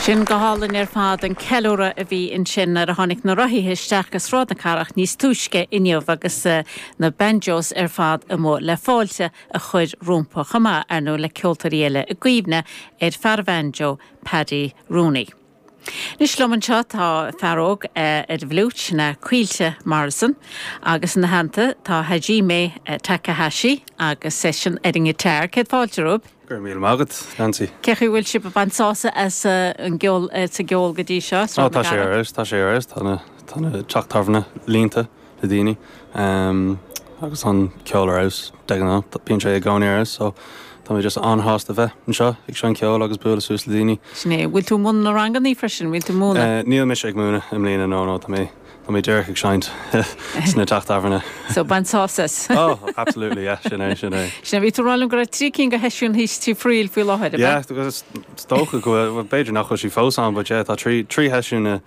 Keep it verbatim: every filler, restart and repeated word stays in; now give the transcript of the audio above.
Sin go hálainn ar fad an ceiliúradh a bhí ansin nuair a tháinig na rothaithe isteach go Sráid na Cathrach níos túisce inniu agus uh, na banjos ar fad amuigh le fáilte a chur rompu chomh maith ar ndóigh le ceoltóirí eile i gcuimhne ar fear banjo Paddy Rooney. Anois liom anseo tá fear óg uh, ar bhfliúit ná Caoilte Morrison agus ina theannta tá Hajime uh, Takahashi agus seisean ar an ngiotár céad fáilte romhaibh. Gur míle maith agat Nancy. Cén chaoi bhfuil sibh ag baint sásamh as an gceol sa gceol go dtí seo Ó tá sé ar tá sé ar tá tá teach tábhairne líonta le daoine um, agus an ceol ar fheabhas de ghnáth bíonn sé i gcónaí ar so Tá mé just an-shásta bheith anseo ag seinm ceoil agus bualadh suas le daoine. Sin é bhfuil tú múineadh na ranganna freisin bhfuil tú múineadh? Uh, Níl mise ag múineadh i mbliana nó nó tá mé Tá mé díreach ag seinnt sna teach tábhairne. So bain sásamh. Oh, absolutely yeah, sin é sin é. Sin bhí tú ag rá liom go raibh trí cinn de sheisiúin thíos Tí Fhrighil faoi láthair. Yeah, is dócha go b'fhéidir nach bhfuil sí fós ann, but yeah, tá trí trí sheisiún